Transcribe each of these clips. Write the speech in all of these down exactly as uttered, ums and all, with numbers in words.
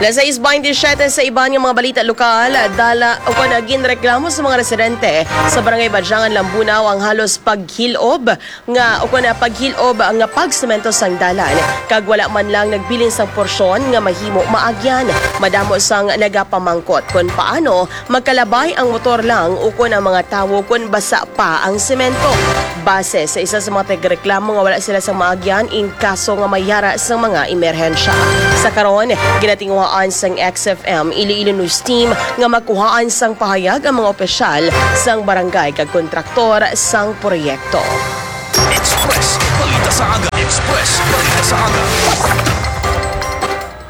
Las sais baynte siyete sa iban nga mga balita lokal, dala o kon ginreklamo sa mga residente sa Barangay Badyangan, Lambunao ang halos paghilob nga o kon paghilob nga pagsemento sang dalan, kag wala man lang nagbilin sang porsyon nga mahimo maagyan. Madamo sang nagapamangkot kon paano magkalabay ang motor lang o kon ang mga tawo kon basa pa ang semento. Base sa isa sa mga tigreklamo nga wala sila sa maagyan in kaso nga may yara sa mga emerhensya. Sa karon, ginatinguhaan sang X F M Iloilo News Team nga magkuhaan sang pahayag ang mga opisyal sang barangay kag kontraktor sang proyekto. Express, balita sa aga. Express, balita sa aga.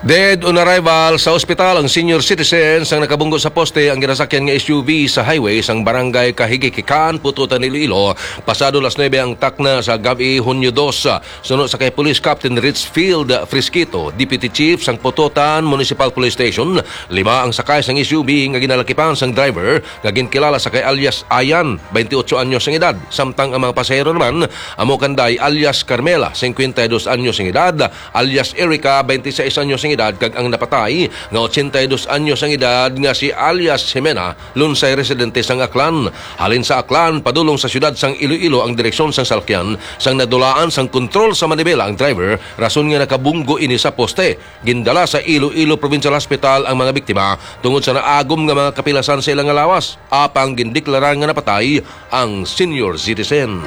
Dead on arrival sa ospital ang senior citizen sang nakabunggo sa poste ang ginasakyan nga S U V sa highway sang barangay Kahigikikan, Pututan, Iloilo, pasado las nuebe ang takna sa gab-i, Hunyo dos. Suno sa kay Police Captain Richfield Frisquito, Deputy Chief sang Pututan Municipal Police Station, lima ang sakay sang S U V nga ginalakipan sang driver nga ginkilala sa kay alias Ayan, twenty-eight anyos ang edad, samtang ang mga pasahero naman amo kanday alias Carmela, cincuenta y dos anyos ang edad, alias Erica, twenty-seis anyos ang edad, kag ang napatay nga ochenta y dos anyos ang edad nga si alias Jimena, Lunsay, residente sang Aklan. Halin sa Aklan padulong sa siyudad sang Iloilo ang direksyon sang salakyan, sang nadulaan sang kontrol sa manibela ang driver, rason nga nakabunggo ini sa poste. Gindala sa Iloilo Provincial Hospital ang mga biktima tungod sa naagom nga mga kapilasan sa ilang nga lawas, apang gindeklara nga napatay ang senior citizen.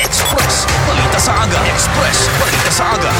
Express, balita sa aga. Express, balita sa aga.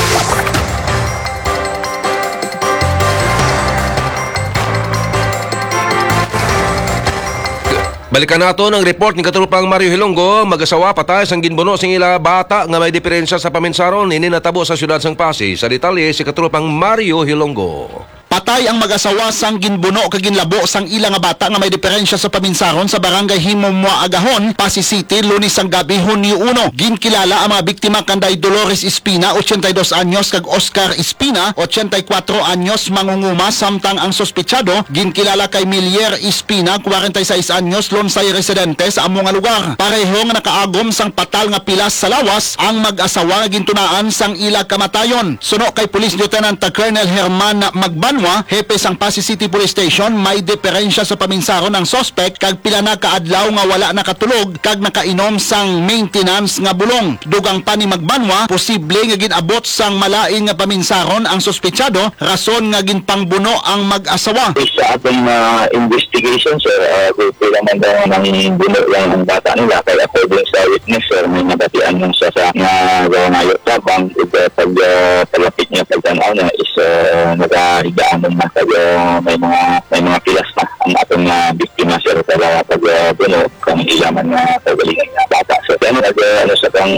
Balikan naton ang report ni Katropang Mario Hilonggo. Mag-asawa patay sang ginbuno sing ila bata nga may diferensya sa paminsaron. Ini natabo sa siyudad sang Passi. Sa detalye, si Katropang Mario Hilonggo. Patay ang mag-asawa sang ginbuno kag ginlabo sang ila nga bata nga may diferensya sa paminsaron sa Barangay Himumua Agahon, Passi City, Lunes sang gabi, Hunyo uno. Ginkilala ang mga biktima kanday Dolores Espina, ochenta y dos anyos, kag Oscar Espina, ochenta y cuatro anyos, mangunguma, samtang ang suspetsado ginkilala kay Milier Espina, kwarenta y seis anyos, Lunsay, residente sa amo nga lugar. Pareho nga nakaagom sang patal nga pilas sa lawas ang mag-asawa nga gintunaan sang ila kamatayon. Suno kay Police Lieutenant Colonel Herman Magbanwa, hepe sang Passi City Police Station, may diferensya sa paminsaron ang suspek kag pila na ka adlaw nga wala nakatulog kag nakainom sang maintenance nga bulong. Dugang pa ni Magbanwa, posible nga gin-abot sang malain nga paminsaron ang suspetsado, rason nga ginpangbuno ang mag-asawa. Based sa aton, ah, investigation, sir, ah, gulpi lang man daw nang buno lang ang bata nila. Kay according sa witness, sir, may nabatian lang siya sa nga gawanayo tabang, ug, ah, pag, ah, palapit niya, pagtan-aw niya is, ah, nagahigaan na. Kag, ah, may mga, may mga pilas na ang aton nga biktima, sir, para pag, ah, buno kang ila man nga kaugalingon nga bata. So, kaya nag, ah, ano sa kang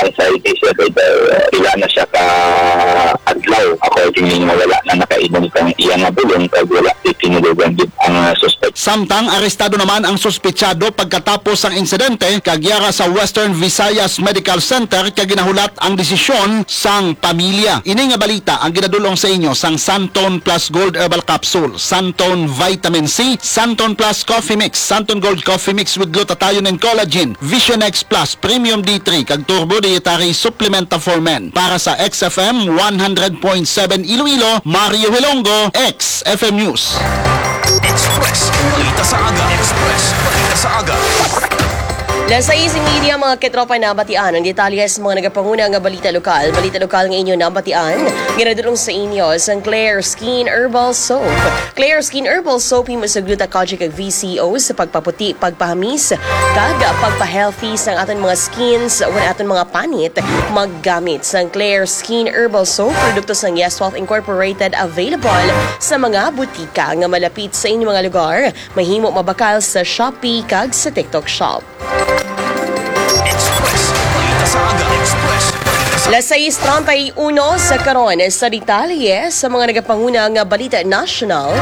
anxiety, sir, kay, ah, pila na siya ka adlaw, accordingly, nga wala na nakainom kang iya nga bulong, kag wala tinulogan gid ang, ah, suspect. Samtang arestado naman ang suspetsado pagkatapos sang insidente, kag yara sa Western Visayas Medical Center, kag ginahulat ang desisyon sang pamilya. Ini nga balita ang ginadul-ong sa inyo sang Santon Plus Gold Herbal Capsule, Santon Vitamin C, Santon Plus Coffee Mix, Santon Gold Coffee Mix with glutathione and collagen, Vision X Plus, Premium D three, kag Turbo Dietary Supplementa for Men. Para sa X F M one hundred point seven Iloilo, Mario Hilonggo, X F M News. Express, balita sa aga. Express, balita sa aga. Las sais y media, mga katropa, nabatian ang detalye sa mga nagapanguna nga balita lokal. Balita lokal nga inyo nabatian, ginadul-ong sa inyo sang Claire Skin Herbal Soap. Claire Skin Herbal Soap, himo sa gluta, kojic, kag V C O sa pagpaputi, pagpahamis, kag pagpa-healthy sang aton mga skins o aton mga panit. Maggamit sang Claire Skin Herbal Soap, produkto sang Yes Wealth Incorporated, available sa mga butika nga malapit sa inyong mga lugar. Mahimo mabakal sa Shopee kag sa TikTok Shop. Express, balita sa aga. Express, balita sa Las sais treinta y uno sa karon sa detalye sa mga nagapanguna nga balita nasyonal.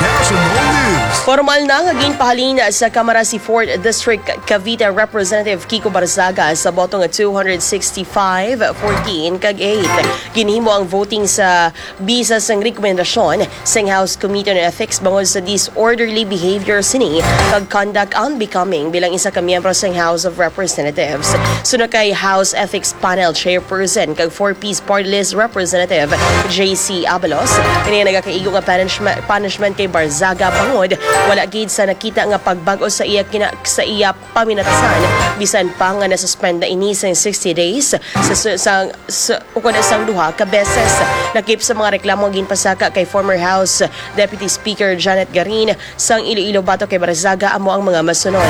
National News. Formal na nga ginpahalin sa Kamara si fourth District Cavite Representative Kiko Barzaga sa boto nga two hundred sixty-five, fourteen kag eight. Ginhimo ang voting sa bisa sang rekomendasyon sang House Committee on Ethics bangod sa disorderly behavior sini kag conduct unbecoming bilang isa ka miyembro sang House of Representatives. Sunod kay House Ethics Panel Chairperson kag four Ps Party List Representative J C Abalos, kini nagakaigo nga punishment, punishment kay Barzaga bangod wala gid sa nakita nga pagbag-o sa iya kina, sa iya paminatasan, bisan pa nga nasuspend na ini sang sixty days sa, sa, sa, sa ukon sang duha ka beses. Lakip sa mga reklamo nga ginpasaka kay former House Deputy Speaker Janet Garin sang Iloilo batok kay Barzaga amo ang mga masunod: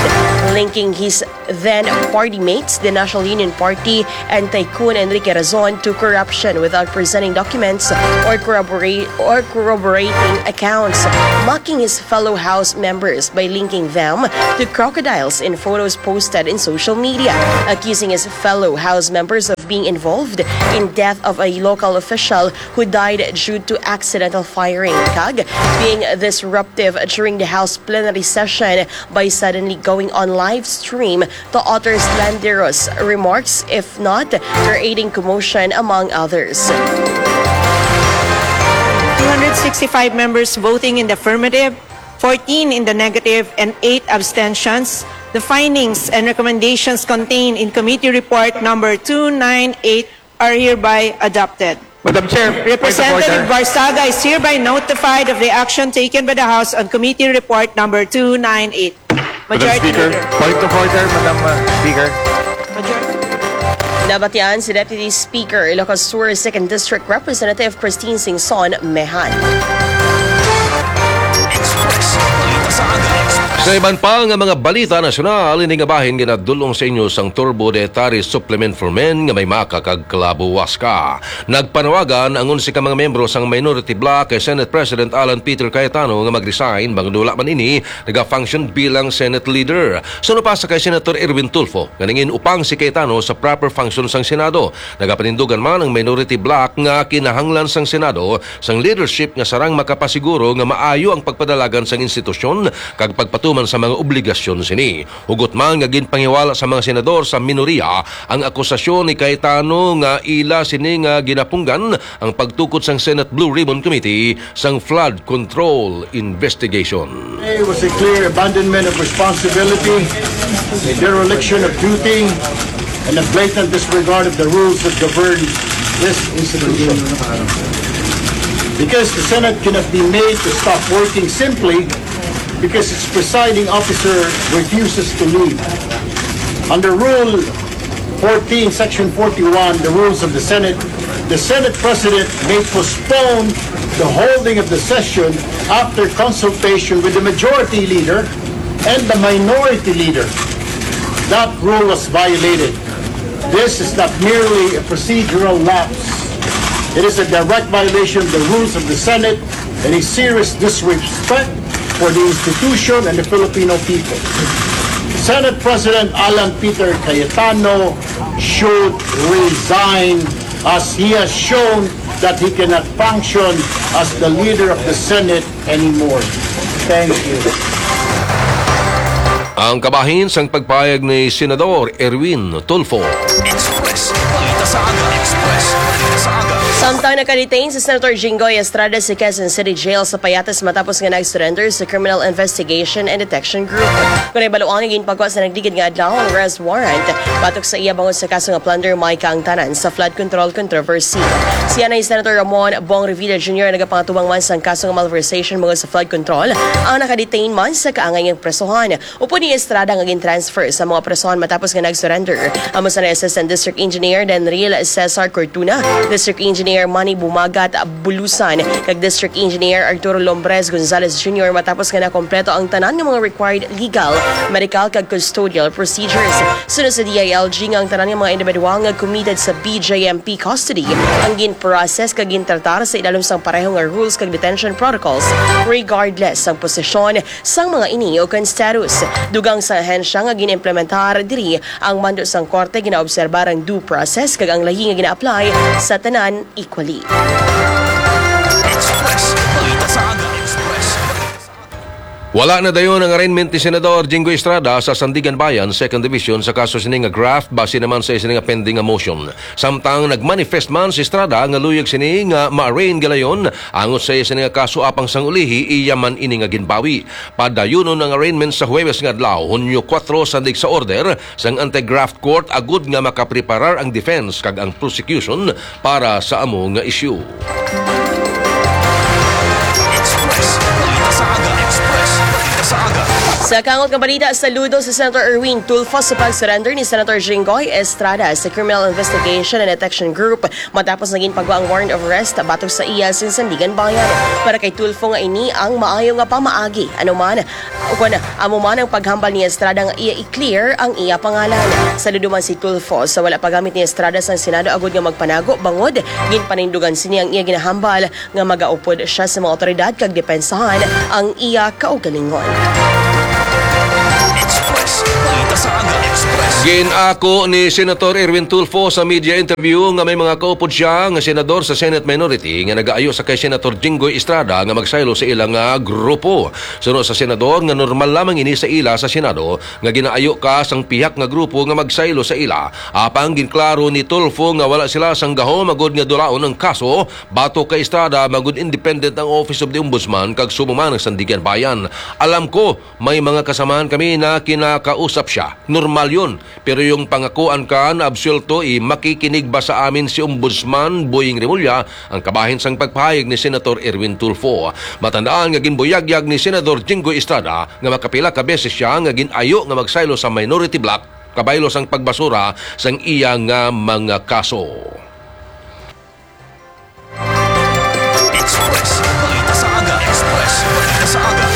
linking his then party mates, the National Union Party, and Tycoon Enrique Razon to corruption without presenting documents or corroborate or corroborating accounts, mocking his fellow House members by linking them to crocodiles in photos posted in social media, accusing his fellow House members of being involved in death of a local official who died due to accidental firing, kag being disruptive during the House plenary session by suddenly going on live stream to utter slanderous remarks, if not creating commotion, among others. Two hundred sixty-five members voting in the affirmative, fourteen in the negative, and eight abstentions. The findings and recommendations contained in Committee Report Number two nine eight are hereby adopted. Madam Chair, point of Representative order. Barzaga is hereby notified of the action taken by the House on Committee Report Number two nine eight. Madam Majority Speaker, Leader. Point of order, Madam uh, Speaker. Nabatian si Deputy Speaker Ilocos Sur Second District Representative Christine Singson Mehan. Sa iban pa nga mga balita nasyonal, ini nga bahin ginadul-ong sa inyo sang Turbo Dietary Supplement for Men nga may maka kag clavo huasca. Nagpanawagan ang onse ka mga miyembro sang minority bloc kay Senate President Alan Peter Cayetano nga mag-resign bangod wala man ini naga-function bilang Senate leader. Suno pa sa kay Senator Erwin Tulfo nga nangin-upang si Cayetano sa proper function sang Senado. Nagapanindugan man ang minority bloc nga kinahanglan sang Senado sang leadership nga sarang makapasiguro nga maayo ang pagpadalagan sang institusyon kag pagpatuman sa mga obligasyon sini. Hugot man nga ginpangiwala sa mga senador sa minoriya ang akusasyon ni Cayetano nga ila sini nga ginapunggan ang pagtukod sang Senate Blue Ribbon Committee sang flood control investigation. It was a clear abandonment of responsibility, a dereliction of duty, and a blatant disregard of the rules that govern this institution. Because the Senate cannot be made to stop working simply because its presiding officer refuses to leave. Under Rule fourteen, Section forty-one, the rules of the Senate, the Senate President may postpone the holding of the session after consultation with the majority leader and the minority leader. That rule was violated. This is not merely a procedural lapse. It is a direct violation of the rules of the Senate and a serious disrespect for the institution and the Filipino people. Senate President Alan Peter Cayetano should resign, as he has shown that he cannot function as the leader of the Senate anymore. Thank you. Ang kabahin sang pagpayag ni Senador Erwin Tulfo. Express. Balita sa aga. Express. Balita sa aga. Samtang nakadetain si Senator Jinggoy Estrada sa Quezon City Jail sa Payatas matapos nga nag-surrender sa Criminal Investigation and Detection Group. Kon nahibaluan nga ginpagwa sa nagligid nga adlaw ang arrest warrant batok sa iya bangod sa kaso nga plunder may kaangtanan sa flood control controversy. Si anay Senator Ramon Bong Revilla Junior nagapangatubang man sang kaso nga malversation bangod sa flood control ang nakadetain man sa kaangay nga presohan. Upod ni Estrada nga gin-transfer sa mga presohan matapos nga nag-surrender. Amo sa Assistant District Engineer Denril Cesar Cortuna, District Engineer Manny Bumagat Bulusan, kag District Engineer Arturo Lombres Gonzalez Junior matapos nga nakompleto ang tanan nga mga required legal, medical, kag custodial procedures. Sunod sa D I L G nga ang tanan nga mga individual nga committed sa B J M P custody ang gin-process kag gintratar sa ilalom sang pareho nga rules kag detention protocols regardless sang posisyon sang mga ini o kon status. Dugang sa ahensya nga gin-implementar diri ang mando sang korte, ginaobserbar ang due process kag ang layi nga gina-apply sa tanan equally. Express. Balita sa aga. Express. Wala na dayon ang arraignment ni Senador Jinggoy Estrada sa Sandiganbayan Second Division sa kaso sini nga graft base naman sa isa nga pending nga motion. Samtang nagmanifest man si Estrada nga luyag sini nga ma-arraign galayon angot sa isa nga kaso apang sang ulihi iya man ini nga ginbawi. Padayunon ang arraignment sa Huwebes nga adlaw, Hunyo kuwatro, sandig sa order sang anti-graft court agud nga makapreparar ang defense kag ang prosecution para sa amo nga isyu. Express. Balita sa aga. Express. Balita sa aga. Sa kangot nga balita, saludo si Senator Erwin Tulfo sa pag-surrender ni Senator Jinggoy Estrada sa Criminal Investigation and Detection Group matapos naging pagwa ang warrant of arrest batok sa iya sa Sandiganbayan. Para kay Tulfo nga ini ang maayo nga pamaagi, anuman, ukon amo man ang paghambal ni Estrada nga iya i-clear ang iya pangalan. Saludo man si Tulfo sa wala paggamit ni Estrada sang Senado agud nga magpanago bangod ginpanindugan sini ang iya ginahambal nga magaupod siya sa mga awtoridad kag depensahan ang iya kaugalingon. Express. Balita sa aga. Express. Gin-ako ni Senator Erwin Tulfo sa media interview nga may mga kaupod siya nga senador sa Senate minority nga nagaayo sa kay Senator Jinggoy Estrada nga magsaylo sa ila nga grupo. Suno sa senador nga normal lamang ini sa ila sa Senado nga ginaayo ka sang pihak nga grupo nga magsaylo sa ila. Apang ginklaro ni Tulfo nga wala sila sang gahom agud nga dulaon ang kaso batok kay Estrada, bangod independent ang Office of the Ombudsman kag subong man ang Sandiganbayan. Alam ko, may mga kasamahan kami na kinakausap siya. Normal yun. Pero yung pangakuan ka na absuelto, eh, makikinig ba sa amin si Ombudsman Boying Remulla? Ang kabahin sang pagpahayag ni Senator Erwin Tulfo. Matandaan nga ginbuyagyag ni Senador Jinggoy Estrada nga makapila ka beses siya nga gin-ayo nga magsaylo sa minority bloc kabaylo sang pagbasura sang iya nga mga kaso. Express. Balita sa aga. Express. Balita sa aga.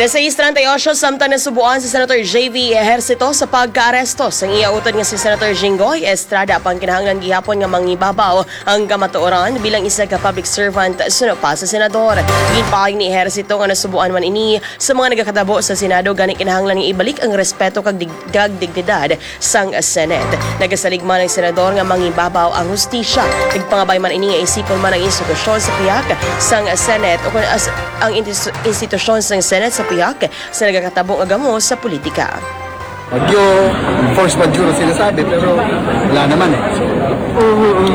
Alas sais treinta y ocho, samtang nasubuan si Senator J V Ejercito sa pagkaaresto sang iya utod nga si Senator Jinggoy Estrada, apang kinahanglan gihapon nga mangibabaw ang kamatuoran bilang isa ka public servant suno pa sa senador. Ginpaayag ni Ejercito nga nasubuan man ini sa mga nagakatabo sa Senado, gani kinahanglan nga ibalik ang respeto kag dig-, kag dignidad sang Senate. Nagasalig man ang senador nga mangibabaw ang hustisya. Nagpangabay man ini nga isipon man ang institusyon sa pihak sang Senate o kon as-, ang intis-, institusyon sang Senate sa pihak sa nagakatabo nga gamo sa politika. Bagyo, force majeure ang sinasabi, pero wala naman eh. So,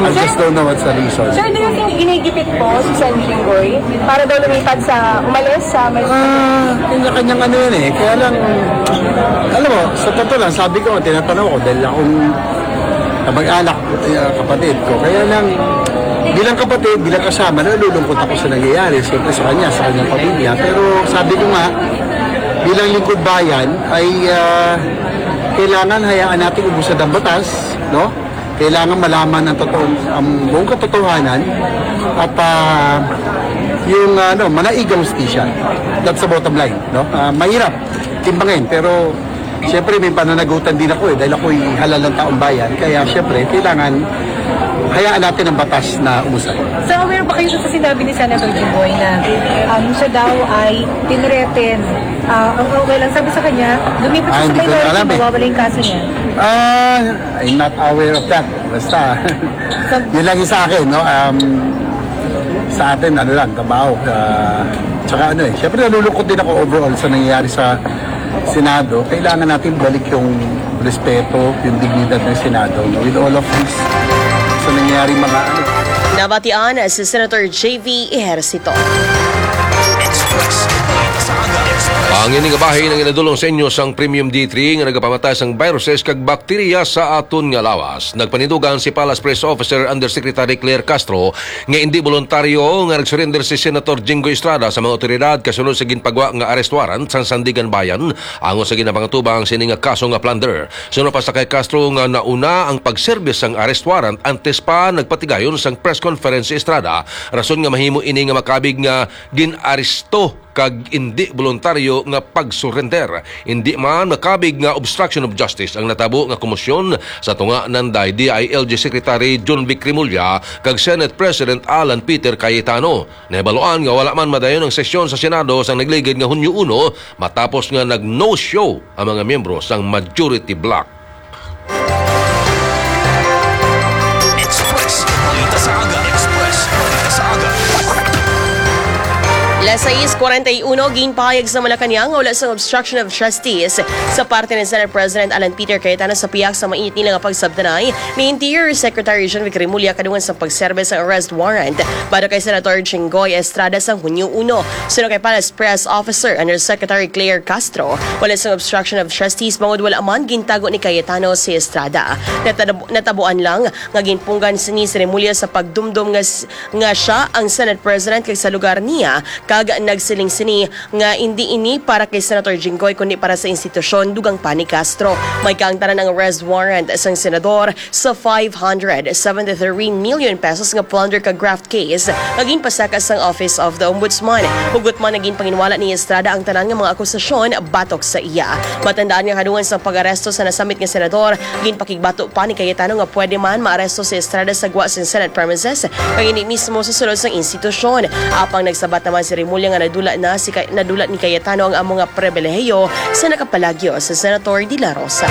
I just don't know what's the reason. Sir, do you think ginigipit po si Sen Jinggoy para daw lumipat sa, umalis sa may... Ah, kanya-kanyang ano yun eh. Kaya lang, alam mo, sa totoo lang, sabi ko, tinatanong ko dahil akong kamag-anak, eh, kapatid ko. Kaya lang, bilang kapatid, bilang kasama, nalulungkot ako sa nangyayari. Siyempre sa kanya, sa kanyang pamilya. Pero sabi ko nga, bilang lingkod bayan, ay, ah, kailangan hayaan natin ubusan ang batas, no? Kailangan malaman ang totoong, ang buong katotohanan at, ah, yung, ano, manaig ang hustisya. That's the bottom line, no? Ah, mahirap timbangin, pero siyempre may pananagutan din ako eh, dahil ako'y halal ng taong bayan. Kaya siyempre, kailangan hayaan natin ang batas na umusad. So, aware ba kayo sa sinabi ni Senator Jinggoy na, um, siya daw ay tinreten? Ah, ang okay lang, sabi sa kanya, lumipat siya Ay, sa hindi ko na minority, alam eh. Mawawala yung kaso niya. Ah, I'm not aware of that. Basta, yun lang yung sa akin, no? Um, sa atin, ano lang, trabaho. Ah, tsaka ano eh, syempre nalulungkot din ako overall sa nangyayari sa Senado. Kailangan natin balik yung respeto, yung dignidad ng Senado, no? With all of this, sa nangyayaring mga ano. Nabatian si Senator J V Ejercito. Express. Ang ini nga bahin ang inadulong sa inyo sang Premium D three nga nagapamata sang viruses kag bakterya sa aton nga lawas. Nagpanindugan si Palace Press Officer Undersecretary Claire Castro nga indi boluntaryo nga nag-surrender si Senator Jinggoy Estrada sa mga awtoridad kasunod sa ginpagwa nga arrest warrant sang Sandiganbayan angot sa ginapangatubang sini nga kaso nga plunder. Suno pa sa kay Castro nga nauna ang pagserbis sang arrest warrant antes pa nagpatigayon sang press conference si Estrada, rason nga mahimo ini nga makabig nga gin-aresto kag indi boluntaryo nga pag-surrender. Indi man makabig nga obstruction of justice ang natabo nga komosyon sa tunga nanday D I L G Secretary Jonvic Remulla kag Senate President Alan Peter Cayetano. Nahibaluan nga wala man madayon ang sesyon sa Senado sang nagligid nga Hunyo uno matapos nga nag-no-show ang mga miyembro sang majority bloc. Express. Balita sa aga. Express. Balita sa aga. Sais kuwarenta y uno, ginpahayag sa Malacañang nga wala sang obstruction of justice sa parte ni Senate President Alan Peter Cayetano sa pihak sa mainit nila nga pagsabtanay ni Interior Secretary John Vic Remulla kadungan sa pagserbe sa arrest warrant para kay Senator Jinggoy Estrada sa Hunyo uno. Suno kay Palace Press Officer Undersecretary Claire Castro, wala sang obstruction of justice bangod wala man gintago ni Cayetano si Estrada. Natab- natabuan lang nga ginpunggan sini si Remulla sa pagdumdom nga s- nga siya ang Senate President kag sa lugar niya kag nagsiling sini nga indi ini para kay Senator Jinggoy kundi para sa institusyon, dugang pa ni Castro. May kaangtanan ang arrest warrant sang senador sa five hundred seventy-three million pesos nga plunder kag graft case nga ginpasaka sang Office of the Ombudsman. Hugot man nga ginpanginwala ni Estrada ang tanan nga mga akusasyon batok sa iya. Matandaan nga kadungan sang pag-aresto sa nasamit nga senador, ginpakigbato pa ni Cayetano nga pwede man maaresto si Estrada sa gwa sang Senate premises kag indi mismo sa sulod sang institusyon. Apang nagsabat naman si Remulla nga nadula na si Cay- nadula ni Cayetano ang amo nga pribilehiyo sa nakapalagyo sa Senator De La Rosa.